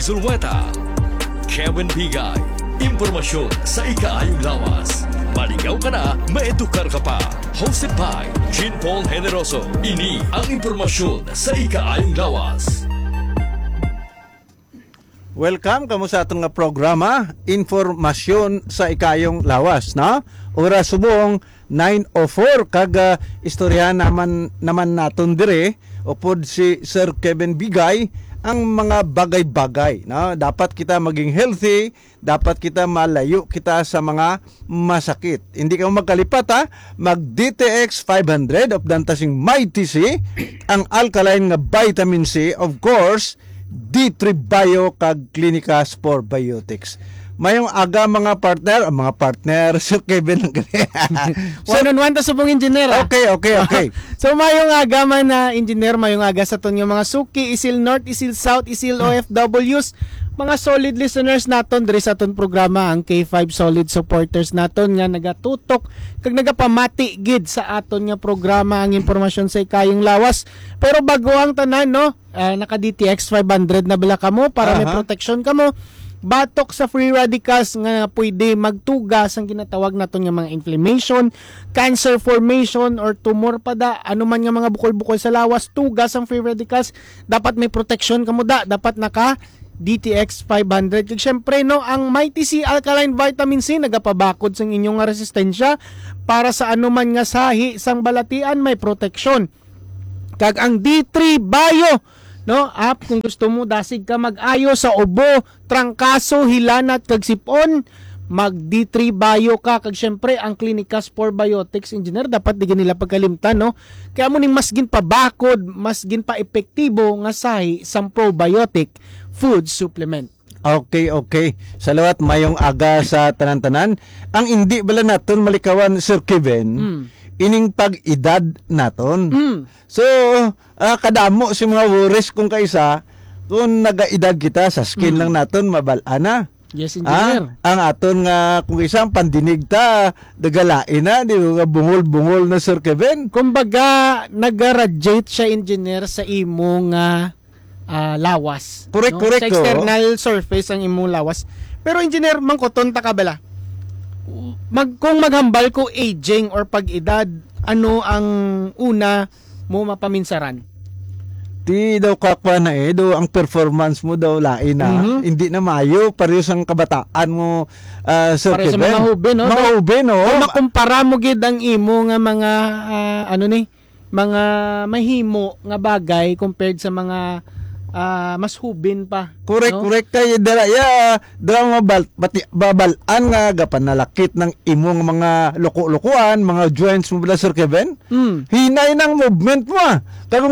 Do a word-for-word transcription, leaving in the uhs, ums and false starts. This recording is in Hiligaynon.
Zulueta. Kevin Bigay, impormasyon sa ikaayong lawas. Maligaw ka na, maedukar ka pa. Hosted by Jean Paul Generoso. Ini ang impormasyon sa ikaayong lawas. Welcome kamo sa aton nga programa, Informasyon sa Ikayong Lawas, no? Oras subong nine oh four, kag ah, istoryahan naman naman naton dire upod si Sir Kevin Bigay ang mga bagay-bagay, no? Dapat kita maging healthy, dapat kita malayo kita sa mga masakit. Hindi ka magkalipat, ha? Mag D T X five hundred of Dantasing Mighty C, ang alkaline nga vitamin C, of course, D three Bio kag Clinicas Probiotics. Mayong aga, mga partner, ah, mga partner, Sir Kevin lang gali. One on one to subong engineer, ah. Okay, okay, okay. So mayong aga man na engineer, mayong aga sa aton nga mga suki, Isil North, Isil South, Isil O F Ws, mga solid listeners naton diri sa aton programa, ang K five solid supporters naton nga nagatutok kag nagapamati gid sa aton nga programa, ang impormasyon sa ikayong lawas. Pero bago ang tanan, no, ah, naka D T X five hundred na bala kamo para may Aha. protection kamo batok sa free radicals nga pwede magtuga sang ginatawag naton nga mga inflammation, cancer formation, or tumor pa da, ano man nga mga bukol-bukol sa lawas, tuga sang free radicals, dapat may protection kamo da, dapat naka D T X five hundred. Kag syempre, no, ang Mighty C Alkaline Vitamin C nagapabakod sang inyong nga resistensya para sa anuman nga sahi sang balatian, may proteksyon. Kag ang D three Bio, no, app, kung gusto mo dasig ka mag-ayo sa ubo, trangkaso, hilanat kag sipon, mag D three Bio ka. Kag syempre, ang Clinicas Probiotics, engineer, dapat di nila pagkalimtan, no? Kaya mo ning mas ginpabakod, mas ginpa-epektibo nga sahi sang probiotic food supplement. Okay, okay. Salawat, mayong aga sa tanan-tanan. Ang indi bala naton malikawan, Sir Kevin, Mm. ining pag-edad naton. Mm. So, ah, kadamo si mga worries kung kaisa, kung nagaedad kita, sa skin Mm. lang naton mabal-an na. Yes, Ah, engineer. Ang aton nga, kung isa ang pandinig ta, nagalain na, di ba, bungol-bungol na, Sir Kevin? Kumbaga, nag-radiate siya, engineer, sa imo nga ah, lawas. Correct, no? correct, Sa external surface ang imong lawas. Pero engineer, mangkuton ta ka bala. Mag, kung maghambal ko aging or pag-edad, ano ang una mo mapaminsaran? Di daw kakwa na eh, do ang performance mo daw lain na. Mhm. Hindi na mayo, pareho sang kabataan mo, ah, Sir Pareho sa Kevin. Mga hubin, no? Mga hubin, oh. Kung makumpara mo gid ang imo nga mga, ah, ano ni, mga mahimo nga bagay compared sa mga, ah, mas hubin pa. Correct, no? Correct. Kay dala, ya, dala mabal, bati, babal-an nga gapanalakit ng imong mga luko-lukuan, mga joints mo bala, Sir Kevin. Mm. Hinay ng movement mo, ah. Kag kung